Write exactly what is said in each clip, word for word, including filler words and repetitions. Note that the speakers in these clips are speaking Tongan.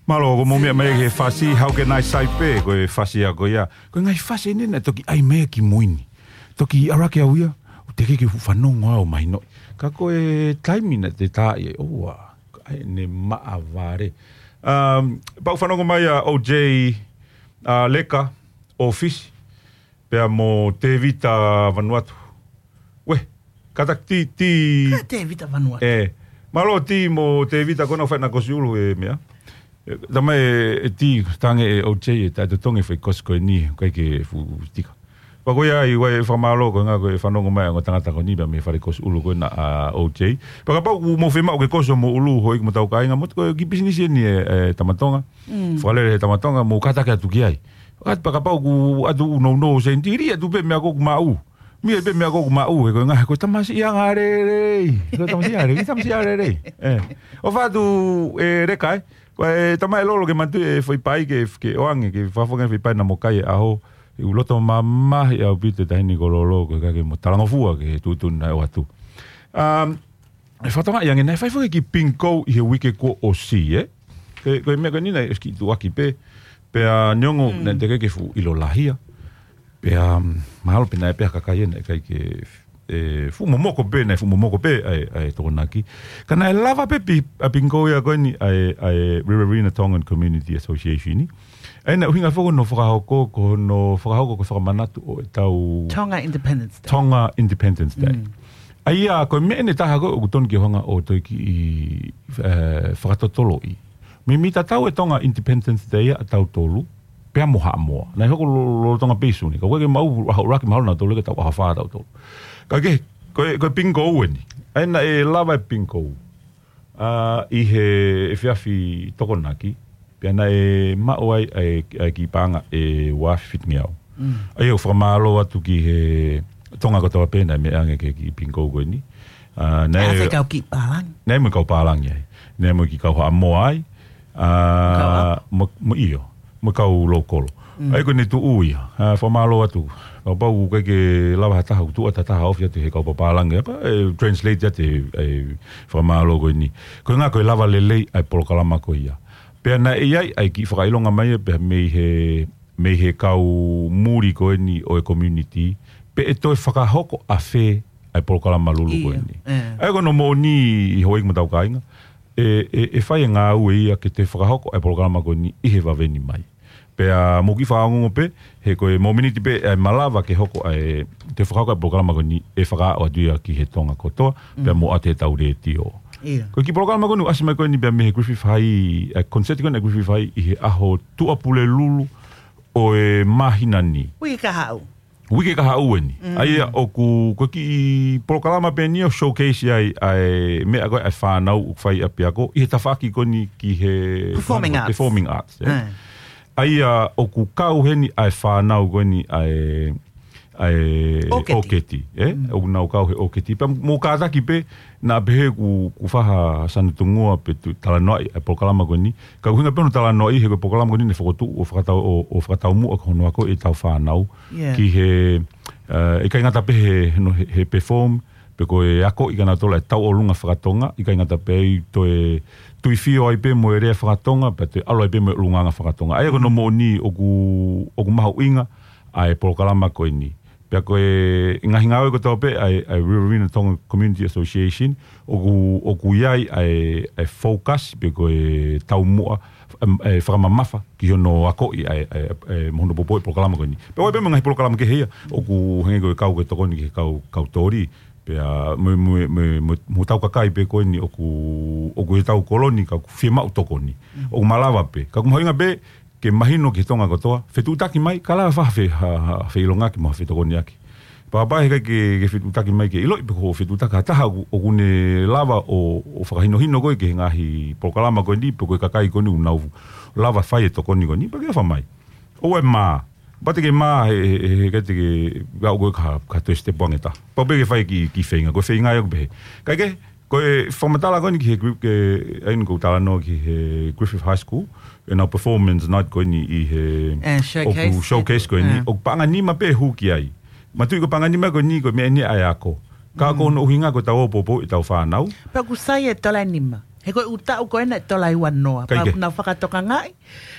Mālō, ko mou meʻa mai he fasi, How Can I Say pē, ko e fasi ia ko ia. Ko e ngaahi fasi eni naʻe toki ʻai mai ki mui ni. Toki ʻalu hake au ia, ʻo teʻeki ke u fanongo au mai noʻi. Ka ko e taimi naʻe tā ai, ʻoua, ʻai ne maʻa vale. Um, pau fanongo mai ʻa O J, ʻa Leka, ʻo Fisi, pea mo Tevita Vanuatu. Uē, kātaki Ti, Ti. Ka Tevita Vanuatu. Ē, mālō Ti mo Tevita ko ena ʻoku fai ʻena kosi ʻulu he meʻa. Ē, tamai ē, ē Ti, tange ē O J ē, taʻetotongi e fai kosi ko eni, ʻikai ke fuʻu tika. Pea ko ia ai, ʻoua ʻe fakamālō ko e ngaahi ko e fanongo mai ʻa e ongo tangata ko eni, pea mei he fale kosi ʻulu ko ena ʻa O J. Pea kapau ʻoku mou fiemaʻu ke kosi homou ʻulu, houʻeiki mo e tau kāinga, mo e ko e kiʻi pisinisi eni ē, ē, Tama Tonga. Mm. Fakalele he Tama Tonga, mou kātaki atu ki ai. Kātaki pea kapau ʻoku ʻatu ʻū nounou sēniti, ʻilo atu pē meʻa ko ē ʻoku maʻu. Mia pē meʻa ko ē ʻoku maʻu, he ko e ngaahi, ko e tamasiʻi anga lelei. Ko e tamasiʻi anga lelei, tamasiʻi anga lelei. Ē. ʻOfa atu, ē, Leka ē. Ko e tamai lolo ke manatuʻi e foʻi pai ke, ke ʻoange, ke fakafoki e foʻi pai naʻa mo kai he ʻaho. ʻOku loto mamahi ʻaupito e taʻahine ko Lolo, ko e ʻikai ke mo talangofua ki he tuʻutuʻuni naʻe ʻoatu. Um, ʻE fakatokangaʻi ange naʻe fai foki e kiʻi bingo ʻi he uike kuo ʻosi, ē? Ko e, ko e meʻa ko eni naʻe ʻosi kiʻi tuʻuaki pē, pea neongo Mm. naʻe teʻeki ke fuʻu ʻilo lahi ia. Pea, um, mahalo pē naʻe pehē ʻa e kakai ē naʻe ʻikai ke, ē, fuʻu momoko pē, naʻe fuʻu momoko pē ʻa e, ʻa e Tokonaki. Ka naʻe lava pē pi-, ʻa e bingo ia ko eni ʻa e, ʻa e Riverina Tongan Community Association ni. ʻA ia naʻe ʻuhinga foki hono fakahoko, ko hono fakahoko ko e fakamanatu ʻo e tau Tonga Independence Day. Tonga Independence Day. Mm. ʻA ia, ko e meʻa eni ʻe taha ko ē ʻoku tonu ke hanga ʻo toe kiʻi, ē, fakatotoloʻi. Meimei tatau e Tonga Independence Day ʻa tautolu, pea mo Haʻamoa. Naʻe hoko lo-, lolotonga pē ʻi Sune. Ka ʻoku ʻikai ke maʻu ʻaho ʻuluaki mahalo nautolu ke tau ʻaho fā tautolu. Ka ke, ko e, ko e bingo eni. ʻA ia naʻe lava e bingo. ʻA, ʻi he efiafi Tokonaki, pea naʻe maʻu ai ʻa e, ʻa e kiʻi paʻanga ʻe ua afe fitungeau. Mm. ʻA ia ʻoku fakamālō atu ki he Tonga kotoa pē naʻe meʻa ange ki he kiʻi bingo ko eni. ʻA, naʻe ʻAfe kau kiʻi pālangi. Naʻe mo e kau pālangi ai. Naʻe mo e kiʻi kau Haʻamoa ai. ʻA, Kau ʻapo. mo, mo ʻio. Mo e kau lōkolo. Mm. ʻA ia ko ʻene tuʻu ia. ʻA, fakamālō atu. Kapau ʻoku ʻikai ke lava ha taha, ʻoku tuʻu atu ha taha ofi atu he kau papālangi, ʻa pea, ē, translate atu e, e fakamālō ko eni. Ko e ʻuhinga ko e lava lelei ʻa e polokalama ko ia. Pea naʻe ʻi ai ʻa e kiʻi fakaʻilonga mai ia pea mei he, mei he kau muli ko eni ʻo e community, pe ʻe toe fakahoko ʻafē ʻa e polokalama lulu ko Ia, eni. ʻE. ʻA ia ko hono moʻoni houʻeiki mo e tau kāinga, ʻe, ʻe, ʻe fai e ngāue ia ke toe fakahoko ʻa e polokalama ko eni ʻi he vave ni mai. Pea mou kiʻi fakaongoongo pē, he ko e momeniti pē ʻe malava ke hoko ʻa e, toe fakahoko ʻa e polokalama ko eni ʻe fakaaʻu atu ia ki he Tonga kotoa, pea Mm. mo ʻa e tau letiō. Ia. Ko e kiʻi polokalama ko eni ʻoku ʻasi mai ko eni pea mei he Griffith High, ʻa e concert ko eni ʻa e Griffith High ʻi he ʻaho Tuʻapulelulu ʻo e māhina ni. Uike kahaʻu. Uike kahaʻu eni. Mm. ʻA ia ʻoku, ko e kiʻi polokalama pē eni ʻoku showcase ai ʻa e meʻa ko ē ʻa e fānau ʻoku fai ʻapiako, ʻi he tafaʻaki ko eni ki he Performing Arts. Performing Arts, ē. Mm. ʻA ia ʻoku kau heni ʻa e fānau ko eni ʻa e, ʻa e ʻOketi. ʻOketi, ē? Mm. ʻOku nau kau he ʻoketi. Pea mou kātaki pē, naʻa pehē ʻoku, ʻoku faha sanutungua pe tu-, talanoaʻi ʻa e polokalama ko eni. Ka ʻuhinga pē hono talanoaʻi he ko e polokalama ko eni naʻe fokotuʻu ʻo fakatau-, ʻo, ʻo fakataumuʻa ko hono akoʻi e tau fānau. Yeah. Ki he, ē, ʻikai ngata pē he, no, he, he perform, pe ko e akoʻi kia nautolu e tauʻolunga fakatonga, ʻikai ngata pē ʻi he toe tuifio ai pē mo e lea fakatonga, pea toe ʻalu ai pē mo e ʻulungaanga fakatonga. ʻA ia ko hono Mm. moʻoni ʻoku, ʻoku mahuʻinga ʻa e polokalama ko eni. Pea ko e ngaahi ngāue kotoa pē ʻa e, ʻa e Riverina Tonga Community Association, ʻoku, ʻoku ʻi ai ʻa e, ʻa e focus pe ko e taumuʻa, em, ʻa e fakamamafa ki hono akoʻi ʻa e, ʻa e, ʻa e mo hono poupouʻi e polokalama ko eni. Pea ʻoku ʻi ai pē mo e ngaahi polokalama kehe ia, ʻoku hangē ko e kau ke tokoni ki he kau, kau toli, pea mo, mo, mo, mo, mo e tau kakai pē ko eni ʻoku, ʻoku ʻi he tau koloni ka ʻoku fiemaʻu tokoni. Mm. ʻOku malava pē. Ka ʻoku mahuʻinga pē, ke mahino ki he Tonga kotoa, fetuʻutaki mai, ka lava faha fe-, ha, ha, feʻilongaki mo ha fetokoniʻaki. Pea kapau he ʻikai ke, ke fetuʻutaki mai ke ʻiloʻi pe ko e fetuʻutaki ha taha ʻoku, ʻoku ne lava ʻo, ʻo fakahinohino koe ki he ngaahi polokalama ko eni, pe ko e kakai ko eni ʻoku nau lava fai e tokoni ko eni, pea ke ʻofa mai. ʻOua ʻe mā. Pea te ke mā he, he, he, he ʻikai te ke, ka ʻoku ʻikai ke toe step ange ta. Pau pē ke fai e kiʻi, kiʻi feinga, ko e feinga ia ʻoku pehē. Kae kehe, ko e fakamatala ko eni ki he group ke, ʻa eni ʻoku ou talanoa ki he Griffith High School, ʻenau performance night ko eni ʻi he ʻE, showcase. ʻOku showcase ko eni, ʻE. ʻOku paʻanga nima pē hū ki ai. Manatuʻi ko e paʻanga nima ko eni ko e meʻa eni ʻa e ako. Ka Mm. ko hono ʻuhinga ko e tau ō ʻo poupouʻi e tau fānau. Pea ʻoku sai e tola nima. He ko e ʻū taʻu ko ē naʻe tola ʻi ua noa. Kai ke. Pea nau fakatokangaʻi.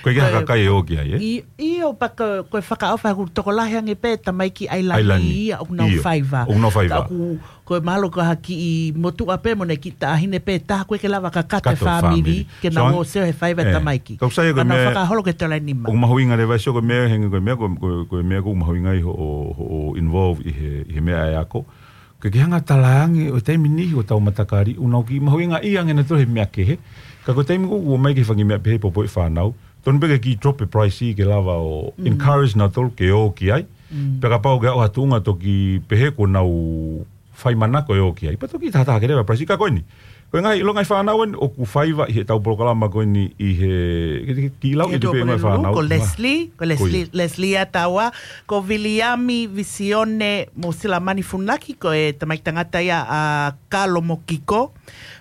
Ko e ke haka kai e ō ki ai, ē? I, ʻio, pea ko, ko e fakaʻofa ʻoku tokolahi ange pē tamaiki ʻAilani ia ʻoku nau faiva. ʻIo. ʻOku nau faiva. Ka ʻoku, ko e mahalo ko ha kiʻi motuʻa pē mo e kiʻi taʻahine pē taha ko ē ke lava ka kato e fāmili. Kato e fāmili. Ke nau ō ʻo sio he faiva e tamaiki. Ka ʻoku sai ko e meʻa. Ka nau fakaholo ke tola ʻi nima. ʻOku mahuʻinga leva ʻa e sio ko e meʻa henge ko e meʻa ko, ko, ko e meʻa ʻoku mahuʻinga ʻi hoʻo, hoʻo involve ʻi he, ʻi he meʻa ʻa e ako. Ke ke hanga talaange ʻo taimi ni ʻo tau matakali, ʻoku nau kiʻi mahuʻingaʻia ange nautolu he meʻa kehe. Ka ko e taimi ʻoku ō mai ki he fanga meʻa pehē popo e fānau. Tonu pē ke kiʻi drop e price ke lava ʻo encourage nautolu ke ō ki ai. Pea kapau ke aʻu ha tuʻunga toki pehē kuo nau fai manako ʻo ō ki ai. Pea toki tahataha ke leva price ka ko eni. Ko e ngaahi, ʻilo ngaahi fānau eni ʻoku faiva ʻi heʻetau polokalama ko eni ʻi he, ki, ki, ki lau ʻi he tuʻu pē ngaahi fānau. Ko Leslie, ko Leslie, Leslie ʻa taua, ko Viliami Visione mo Silamani Funaki, ko e tamaiki tangata ia ʻa Kalo mo Kiko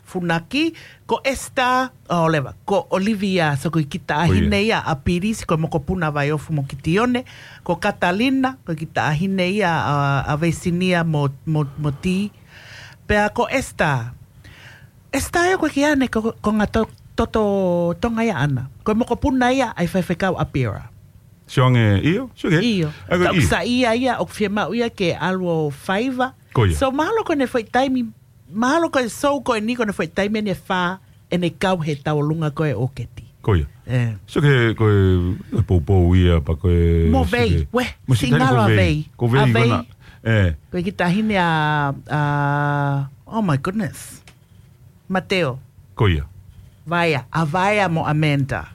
Funaki, ko Esther, ʻo leva, ko Olivia, so ko e kiʻi taʻahine ia ʻa Piris, ko e mokopuna Vaiofu mo Kitione, ko Katalina, ko e kiʻi taʻahine ia ʻa, ʻa Veisinia mo, mo, mo Ti. Pea ko Esther, Esther ʻio ko e kiʻi ʻane ko, ko ngā to, toto Tonga ia ʻana. Ko e mokopuna ia ʻa e faifekau ʻa Pira. Sio ange, ʻio, sio ke. ʻIo. Ai, ko e ʻio. Ka ʻoku sai ia ia, ʻoku fiemaʻu ia ke ʻalu ʻo faiva. Ko ia. So, mahalo ko ʻene foʻi taimi, mahalo ko e sou ko eni ko ʻene foʻi taimi ʻe fā, ʻene kau he tauʻolunga ko e ʻōketi. Ko ia. ʻE. Sio ke, ko e, ko e poupou ia, pea ko e, mo sio Vei, ke. Mo si tali singalo ko ʻa Vei. Vei. Ko Vei, ʻa ko Vei. Na, ʻe. Ko e kiʻi taʻahine ʻa, ʻa, oh my goodness. Mateo. Ko ia. Vaea, ʻa Vaea mo Amanda.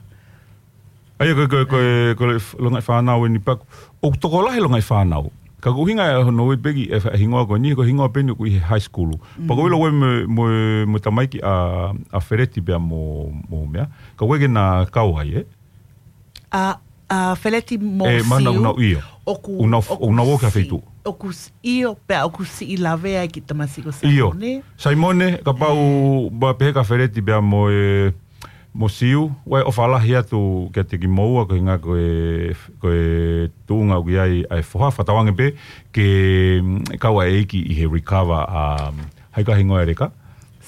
ʻA ia ko, ko, ko, ko e f-, longaʻi fānau eni pea ʻoku tokolahi longaʻi fānau. Ka ko e ʻuhinga ʻe hono ui pē ki he, he hingoa ko eni, ko e hingoa pē eni ʻoku ʻi he high school. Pea ko e ʻilo ko e mo, mo, mo e tamaiki ʻa, ʻa Feleti pea mo, mo meʻa. Ka ko e ke na kau ai, ē? ʻA, ʻa Feleti mo Siu. ʻE, mana ʻoku nau ʻio. ʻOku, ʻoku nau f-, ʻoku ʻoku nau ō ki ha si-, feituʻu. ʻOku s-, ʻio, pea ʻoku siʻi lavea e kiʻi tamasiʻi ko Saimone. ʻIo. Saimone, kapau, pea pehē kia Feleti pea mo e, mo Siu, ʻoku ou ʻofa lahi atu kiate kimoua ko e ʻuhinga ko e, ko e tuʻunga ʻoku ʻi ai ʻa e foha fakatauange pē ke, mm, kau ʻa e ʻeiki ʻi he recover ʻa, um, hai ko e hingoa e leka?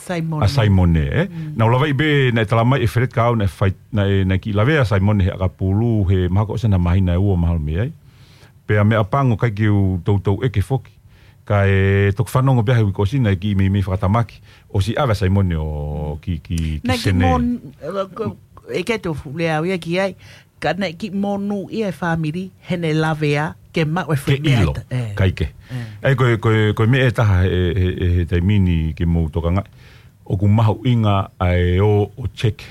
Saimone. ʻA Saimone, ē? Naʻa ku lavaʻi pē naʻe talamai ʻe Feleti ka au naʻe fai, naʻe, naʻe kiʻi lavea ʻa Saimone he ʻakapulu, he mahalo ko e ʻosi ʻena māhina ʻe ua mahalo mei ai. Pea meʻapango ʻikai ke u toutou ʻeke foki. Kae toki fanongo pē he uike kuo ʻosi naʻe kiʻi meimei fakatamaki. ʻOsi ʻave ʻa Saimone ʻo ki, ki, ki Sene. Naʻe kiʻi mon-, ʻe, ko, ʻe ke tō fuʻu lea au ia ki ai. Ka naʻe kiʻi monūʻia e fāmili, heʻene lavea, ke maʻu e foʻi meʻa ʻilo, ʻe ta-, ʻe. ʻIkai ke. ʻE. ʻA ia ko e, ko e, ko e meʻa ʻe taha he, he, he, he taimi ni ke mou tokangaʻi. ʻOku mahuʻinga ʻa e ō ʻo check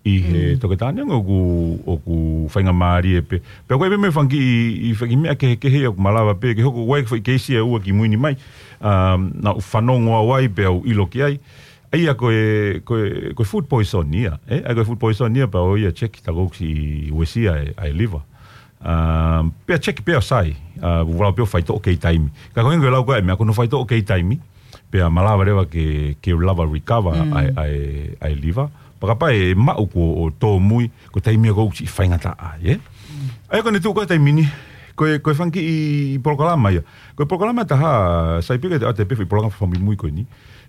ʻi he toketā ni ʻoku, ʻoku faingamālie pē. Pea ko e meʻa fanga kiʻi, ʻi fanga kiʻi meʻa kehekehe ʻoku malava pē, ke hoko ʻa e foʻi keisi ʻe ua kimui ni mai. Um, naʻa ku fanongo au ai pea u ʻilo ki ai. ʻA ia ko e, ko e, ko e food poison ia, ē? ʻA ia ko e food poison ia pea ō ia check ta ko si uesia e, ʻa e liver. Um, pea check pea sai, uh, vala pea faitoʻo kei taimi. Ka ko e ʻuhinga ko e lau ko e meʻa ko hono faitoʻo kei taimi, pea malava leva ke, ke lava recover ʻa e, ʻa e, ʻa e liver. Pea kapau ʻe maʻu kuo tōmui, ko e taimi ia ʻoku siʻi faingataʻa ai, ē? ʻA ia ko ʻene tuʻu ko e taimi ni, ko e, ko e fanga kiʻi polokalama ia. Ko e polokalama ʻe taha, sai pē ke te ʻoatu pē foʻi polokalama fakamuimui ko eni.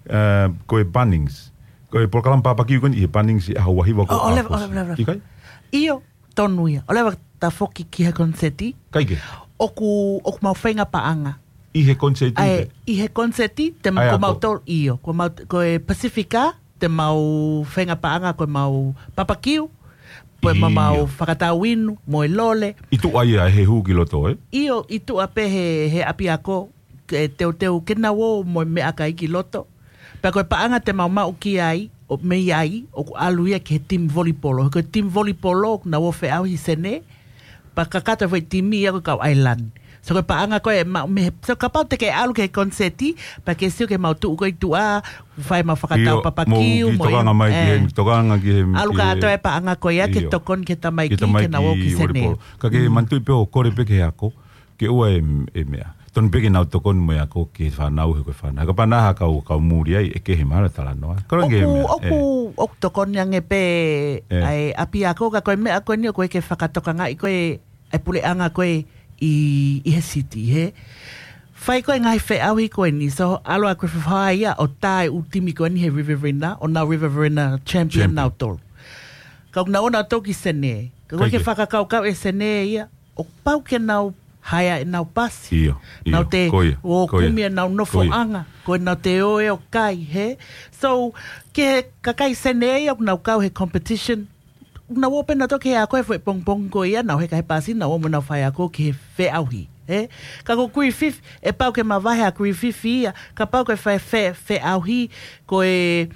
Uh, ko e Bunnings. Ko e polokalama papakiu ko eni ʻi he Bunnings ʻi he ʻaho ua hiva ko ʻo, ʻo leva, ʻo leva, leva. ʻIkai? ʻIo, tonu ia. ʻO leva ta foki ki he koniseti. ʻIkai ke. ʻOku, ʻoku mau feinga paʻanga. ʻI he koniseti ʻAe, ke. ʻI he koniseti, te ʻAe ko ako. Mau tolu ʻio. Ko mau, ko e Pasifika, te mau feinga paʻanga, ko e mau papakiu, ko e mau, ʻIo. Mau fakatau inu, mo e lole. ʻI tuʻa ia he hū ki loto, ē? ʻIo, ʻi tuʻa pē he, he ʻapiako, ke teuteu, ke nau ō mo e meʻakai ki loto. Pea ko e paʻanga te mau maʻu ki ai, ʻo mei ai, ʻoku ʻalu ia ki he team volipolo. Ko e team volipolo, ʻoku nau ō feʻauhi Sene, pea kakato e foʻi timi ia ko e kau ʻAilani. So ko e paʻanga ko ē maʻu mei he, so kapau te ke ʻalu ki he koniseti, pea ke sio ki he mau tuʻu ko ē ʻi tuʻa, fai mau fakatau ʻIo, papakiu, mo mo kiʻi tokanga ʻi, mai ki ʻe. He, tokanga ki he, ʻAlu ki he kātoa e paʻanga ko ia, ke ʻIo. Tokoni ki he tamaiki, Ki he tamaiki ke nau ō ki Sene. Volipolo. Ka ke Mm. manatuʻi pē ʻo kole pē ki he ako, ke ʻoua ʻe, ʻe meʻa. Tonu pē ke nau tokoni mo e ako ki he fānau he ko e fānau. He kapau naʻa ha kau, kau muli ai, ʻe kehe mahalo e talanoa. Kole ke ʻOku, meʻa, ʻoku, ʻe. ʻOku tokoni ange pē ʻE. ʻa e ʻapiako ka ko e meʻa ko eni ʻoku ʻikai ke fakatokangaʻi ko e, ʻa e puleʻanga ko ē ʻi, ʻi he siti, he. Fai ko e ngaahi feʻauhi ko eni, so ʻalu ʻa Griffith High ia ʻo tā e ʻū timi ko eni he Riverina, ʻo nau Riverina champion. Champion. Nau tolu. Ka ʻoku nau ō nautolu ki Senē. Ka ʻoku ʻikai ke fakakaukau ʻe Senē ia, ʻoku pau ke nau haea ʻenau pasi. ʻIo, ʻio. Nau te ō kumi ʻenau nofoʻanga, ko ʻenau te ō ʻo kai, hē? So, ki he kakai Senē ia ʻoku nau kau he competition, nau ō pē nautolu ki he ako he foʻi pongipongi ko ia, nau heka he pasi, nau ō mo nau faiako ki he feʻauhi, hē? Ka ko Griffith, ʻe pau ke mavahe ʻa Griffith ia, kapau ko e fai fe-, feʻauhi, ko e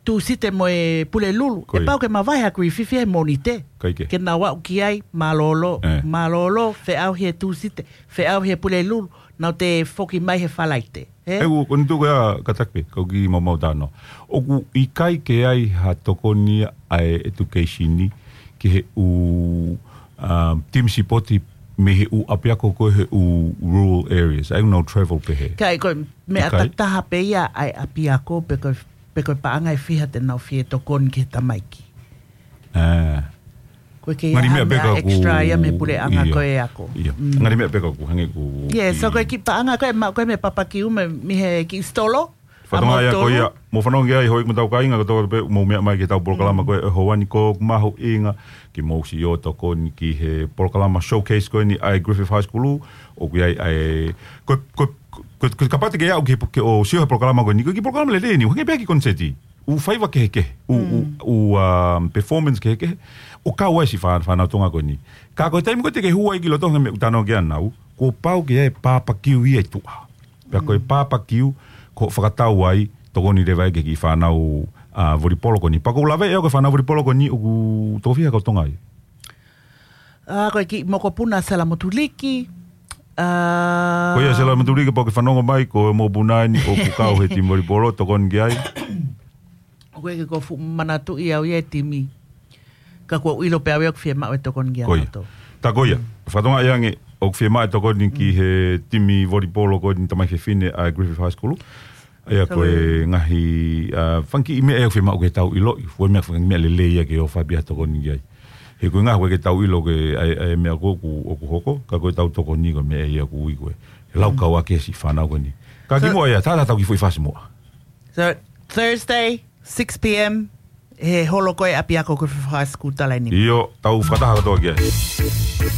Tūsite mo e Pulelulu, ʻe pau ke mavahe ʻa Griffith he Mōnite. Ke nau aʻu ki ai, mālōlō, mālōlō, feʻauhi he Tūsite, feʻauhi he Pulelulu, nau te foki mai he Falaite. Hē? ʻE, ʻoku, ko e tuku ia kātaki pē, kau kiʻi maumau tāno. ʻOku ʻikai ke ʻi ai ha tokoni ʻa e education ki he ʻū, um, team sipoti mei he ʻū ʻapiako ko ē he ʻū rural areas. ʻA ia ʻoku nau travel pē hē. Ka ʻi ai ko e meʻa ʻikai. Takitaha pē ia ʻa e ʻapiako pe ko e, pe ko e paʻanga ʻe fiha te nau fie tokoni ki he tamaiki. Ā. Ko e kei Ngali meʻa pē ka ʻoku extra ia mei he puleʻanga ko ē ako. ʻIo. Ngali meʻa pē ka ʻoku hangē ʻoku Yeah, so ko e kiʻi paʻanga ko ē, ma-, ko e meʻa papakiu mei, mei he kiʻi sitolo. Fatongia ia ko ia, mou fanongo ki ai, houʻeiki mo e tau kāinga, ko e tau pē, mou meʻa mai ki he tau polokalama ko ē, ʻe hoani ko ʻoku mahuʻinga, ke mou siʻi ō tokoni ki he polokalama showcase ko eni ʻa e Griffith High School, ʻoku ʻi ai ʻa e, ko, ko, ko, ko, kapau te ke aʻu ki he, ke ō sio he polokalama ko eni, ko e kiʻi polokalama lelei eni, ʻoku hangē pē ha kiʻi koniseti, ʻū faiva kehekehe, ʻū, ʻū, ʻū, um, performance kehekehe, ʻoku kau ai siʻi fā-, fānau Tonga ko eni. Ka ko e taimi ko ē te ke hū ai ki loto hangē meʻa ʻoku tano ki ai ʻanau, kuo pau ke ʻi ai e papakiu ia ʻi tuʻa. Pea ko e papakiu, ko e fakatau ai, tokoni leva ai ki he kiʻi fānau, ā, volipolo ko eni. Pea ʻoku ou lave ʻe au ki he fānau volipolo ko eni, ʻoku toko fiha kau Tonga ai? Ā, ko e kiʻi mokopuna Sela Motuliki. Ā, Ko ia Sela Motuliki, pea ʻoku ke fanongo mai, ko e mokopuna eni ʻoku kau he timi volipolo, tokoni ki ai. ʻOku ʻikai ke u fuʻu manatuʻi au ia e timi. Ka ʻoku ou ʻilo pē au ia ʻoku fiemaʻu e tokoni kia Ko ia. Nautolu. Tā ko ia. Fakatokangaʻi ange ʻoku fiemaʻu e tokoni ki he timi volipolo ko eni tamaiki fefine ʻa Griffith High School. ʻA ia ko e ngaahi, ā, fanga kiʻi meʻa ia ʻoku fiemaʻu ke tau ʻiloʻi. Fua meʻa fanga meʻa lelei ia ke ʻofa pē ha tokoni ki ai. He ko e ngaahi ʻoku ʻikai ke tau ʻilo ke ʻa e, ʻa e meʻa ko ē ʻoku, ʻoku hoko, ka ko e tau tokoni ko e meʻa ia ʻoku ui ko ē. He lau kau ake siʻi fānau ko eni. Ka kimuʻa ia, tā tā tau kiʻi foʻi fasi muʻa. So, Thursday, six p.m., he holo ko ē ʻapiako ko e Fifo High School Talaini. ʻIo, tau fakataha kātoa ki ai.